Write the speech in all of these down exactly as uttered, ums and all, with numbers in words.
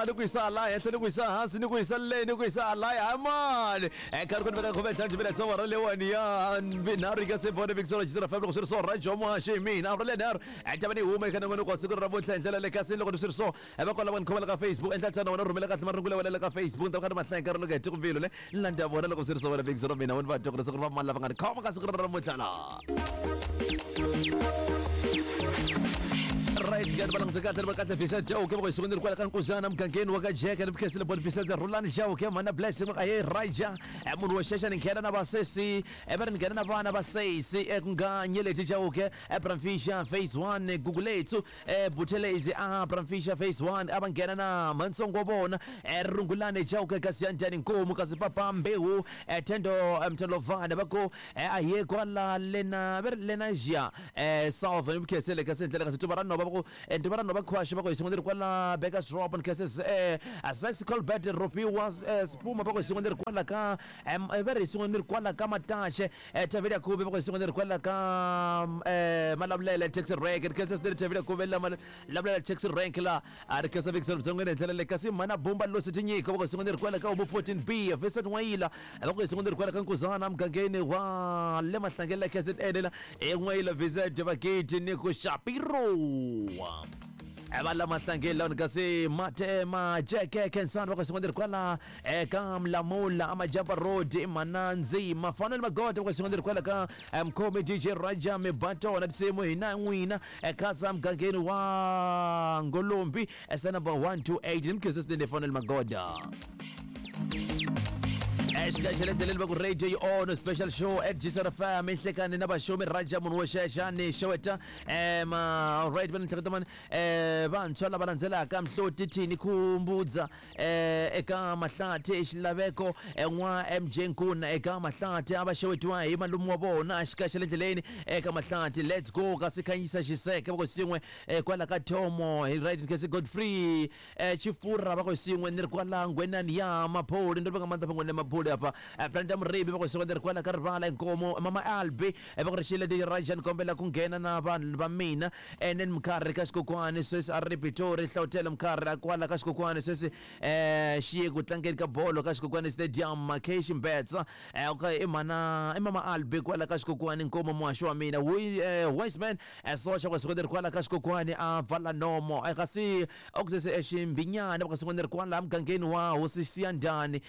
Ni ku yisa laha henhla, ni ku yisa hansi, ni ku yisa le, ni ku yisa laya mani nkarhi ku ni veka khume ntlhanu timiletse awara leyiwani ya vinharhu yi nga se vona vikiselo jisira five loko swi ri so rajo muhaxi hi mina awara lenharhu ta va ni huma eka nongonoko wa siku ra namuntlha hi ndlela le kasi loko ni swi ri so va kwala va ni khomela ka Facebook endla tano wena rhumela kahle marungulo ya wena le ka Facebook ni ta va kha ni mahlaya nkarhi loko heti kumbilu le ni landza vona loko swi ri so wena vikiselo mina wena va twa ku ri siku ri va mani lava nga ni khoma ka siku ra namuntlha la. Right ka va langutse kahle va kahle Vincent Chauke va ku siku ni ri kwala ka Nkuzana mugangeni wa ka Jeke ni khensile bon Vincent Rhulani Chauke mhana Blessing va aye Raja munhu wo xexa ni nghena na vasesi va ri ni nghena na vana va sesi ku nga Nyeleti Chauke Bramfisher phase one Gugulethu Buthelezi a Bramfisher phase one a va nghena na mhantsongo wa vona Rungulani Chauke kasi ya njhani Nkomu kasi papa Mbewu Thendo Mtholovane va ku a hi ye kwala lena va ri Lenasia South ni khensele kasi ndlela kasi tuva ra nhova va ku ntuva ra nhova khwaxi va ku hi sin'we ni ri kwala Bakers Drop ni khense Sex Colbert Ropiwa Spuma va ku hi sin'we ni ri kwala ka va ri hi sin'we ni ri kwala ka Mataxe Thavela Khuve va ku hi sin'we ni ri kwala ka Malavulele Taxi Rank ni khense ni ri Thavela Khuve la Malavulele Taxi Rank la a ri khensa vikiselo byon'wini hi ndlela leyi kasi mhana Bumba Losi Tinyiko va ku hi sin'we ni ri kwala ka Homu fourteen B Vincent N'wayila va ku hi sin'we ni ri kwala ka Nkuzana mugangeni wa le Mahlangeni la K Z N la en'wayila Vincent Vakiti ni ku Shapiro va la Mahlangeni lawani kasi mate majeke Khensani va ku sin'we ni ri kwala eka Mlamula Amajapa Road i Manandzi Mafanele Magoda va ku sin'we ni ri kwala ka Mkhomi D J Raja Mibatona tinsimu hina n'wina Khaza mugangeni wa Ngolombi sa number one two eight ni mukhensa swinene Fanele Magoda. Exika xa le ndleleni va ku radio yi on special show at G S R F M inhlekani na vaxomi Raja munhu wo xexa ni xeweta um alright va ni hleketa mani um vantshwa lava landzelaka Mhloti Thini Khumbudza um eka Mahlathi Xilaveko n'wa M J Nkuna eka Mahlathi a va xewetiwa hi malume wa vona xika xa le ndleleni eka Mahlathi let's go kasi Khanyisa Xiseke va ku sin'we kwala ka Thomo hi right kasi Godfrey Chifura va ku sin'we ni ri kwala Ngwenani ya Mapholi ndo ri va nga mandla fangweni ya Mapholi apa Brenda Muribi va ku sin'we ni ri kwala ka Rivala Inkomo Mama Albi va ku ri xile di Raja ni kombela ku nghena na vanhu va mina ene ni Mkhari ka Xikokwani sweswi a ri Pitori Hlawutele Mkhari kwala ka Xikokwani sweswi eh xi ye ku tlangeni ka bolo ka Xikokwani Stadium K Ximbetsa okay i mana i Mama Albi kwala ka Xikokwani Nkomo muhaxi wa mina Wiseman Socha va ku sin'we ni ri kwala ka Xikokwani a pfala nomo kasi okusese Ximbinyana va ku sin'we ni ri kwala mugangeni wa Hosi Siyandhani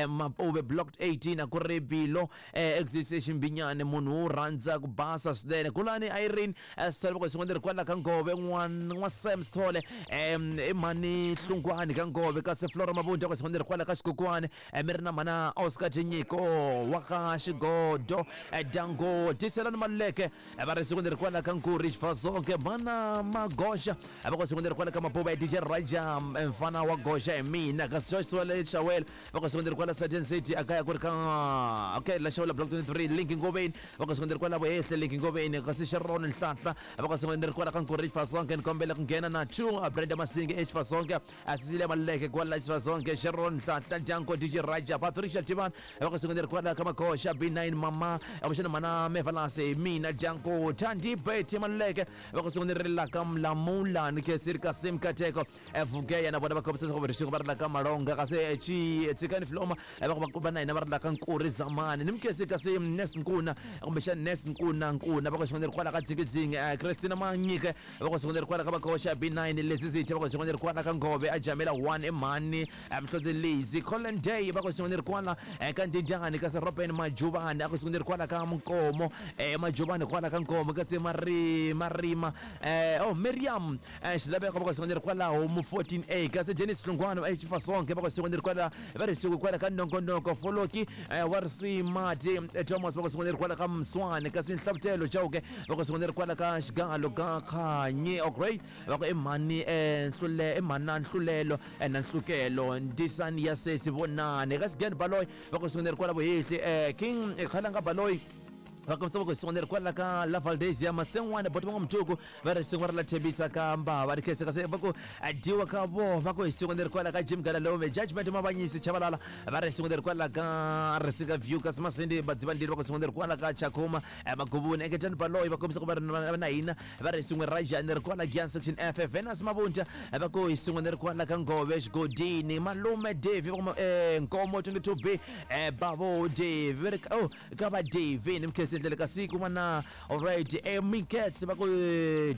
Mapuve block eighteen a ku ri Bilo exise Ximbinyane munhu wo rhandza ku basa swinene Kulani Irene Sithole va ku sin'we ni ri kwala ka Ngove n'wa Sam Sithole i mhani Hlungwani ka Ngove kasi Flora Mabunda va ku sin'we ni ri kwala ka Xikokwani mi ri na mhana Oscar Tinyiko wa ka Xigodo Dango Tiselani Maluleke va ri siku ni ri kwala ka Nkuri Xifasonke mhana Magoxa va ku siku ni ri kwala ka Mapuva ya D J Raja mfana wa Goxa hi mina kasi Joshua Xawela va ku siku ni ri kwala Certain City akaya ku ri ka okay la Xawela block twenty-three Link Ngoveni va ku siku ni ri kwala Vuhehle Link Ngoveni kasi Sharon Nhlanhla va ku siku ni ri kwala ka Nkuri Xifasonke ni kombela ku nghena na two Brenda Masinge eXifasonke Cecilia Maluleke kwala Xifasonke Sharon Nhlanhla Janko D J Raja Patricia Tivani va ku siku ni ri kwala ka Magoxa B nine Mama avuxeni mana Mevalase mina Janko Thandi Betty Maluleke va ku siku ni ri la ka Mlamula ni Khesiri Kasim Kateko Vugeya na vona va kombisa leswaku ri va ri la ka Malonga kasi chi Tshikani Floma va ku va na hina va ri la ka Nkuri Zamani ni Mkhesi kasi Nes Nkuna kumbexana Nes Nkuna Nkuna va ku siku ni ri kwala ka Dzingidzingi Christina Manyike va ku siku ni ri kwala ka Magoxa B nine Lezizithe va ku siku ni ri kwala ka Ngove a Jamela one Mhani Mhloti Lazy Colin Day va ku siku ni ri kwala ka Ndindyani kasi Robin Majuvani a ku siku ni ri kwala ka Nkomo Majuvani kwala ka Nkomo kasi Mari Marima oh Miriam Xilaveko va ku siku ni ri kwala Homu fourteen A kasi Dennis Hlungwani eXifasonke va ku siku ni ri kwala va ri siku kwala ka Nongonoko Foloki wa Risimati Thomas va ku siku ni ri kwala ka Mswani kasi Nhlavutelo Chauke va ku siku ni ri kwala ka Xigalo ka Khanyi okay va ku i mhani Nhlule i mhana Nhlulelo na Nhlukelo Ndisani ya sesi Vonani kasi Gen Baloyi va ku siku ni ri kwala Vuhehli King Khalanga Baloyi Va kombisa va ku hi kwala ka La Valdezia Masen'wana boti va n'wamtuku va ri sin'we ra la Thembisa ka Mbava ri khensa kasi va ku dyiwa ka vo va ku hi siku leri kwala ka Jim Galalome Judgment Mavanyisi Chabalala va ri siku leri kwala ka Risika View kasi Masindi Badzivandili va ku siku leri kwala ka Chakuma Magubuni Engetani Baloyi va kombisa ku va ri na hina va ri sin'we ra Jani ri kwala Gian Section F Venus Mabunja va ku hi siku leri kwala ka Ngove Xigodini Malume Dave va ku Nkomo twenty-two B Bavo Dave oh ka va Dave ni mkhesi ndlela ka siku mana alright eh Minkets va ku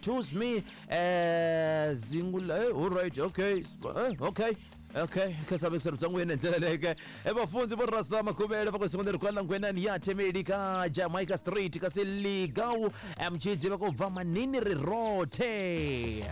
choose me eh zingula all right okay okay okay khasabe kusarubza ngwena ndlela leke ebafundzi bo rasta makhubele va ku siku leri kwala ngwenani ya Themeli ka Jamaica Street kasi Ligau mchidzi va ku bva manini ri rothe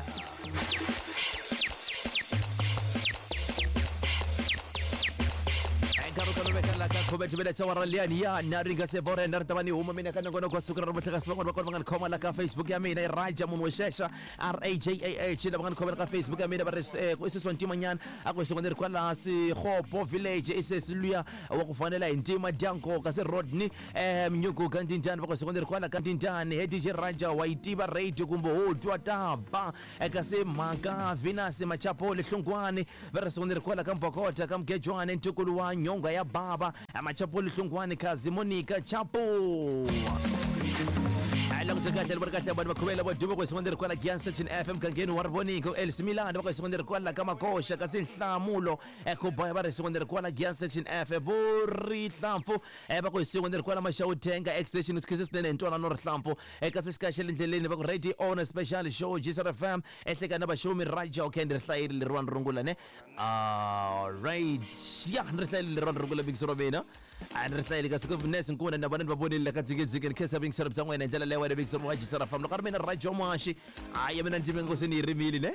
Facebook ya mina Raja munhu wexexa R A J A H lava nga ni khomela ka Facebook ya mina va ri i ntimanyana a ku siku leri kwala Sikgopo Village i sesi luya wa ku fanela hi ntima dyanko kasi Rodney eh Mnyuku ka Ndindani va ku siku leri kwala ka Ndindani he D J Raja wa yi tiva radio kumbe ho twa taba kasi mhaka Venus Machapo Lehlungwani va ri siku leri kwala ka Mbokota ka Mgejwane ntukulu wa nyonga ya baba Machapo Lehlungwani kazi Monica Chapo ala kuja kahle bari kahle abantu bakhubela bodumo kwesikonderi kwala Gian Section F M kangeni wa Riboniko El Similana bakwesikonderi kwala kamakosha kasi Nhlamulo ekubaya bari sikonderi kwala Gian Section F bori Hlamfu bakwesikonderi kwala Mashawutenga extension uthikise sinene ntwana no Hlamfu ekasi xikaxele ndleleni va ku radio on special show G S R F M ehleka na bashomi Raja okay ndi hlayile lerwana rungula ne all right ya ndi hlayile lerwana rungula big sorobena and ri hlayile kasi ku Ness Nkuna na vona va vonile ka dzikedzike ni khensa big sorobza n'wena ndlela leyo wena big sorobza G S R F M loko ri mina Raja Mwashi a ya mina ndzi ngosini yi rimile ne.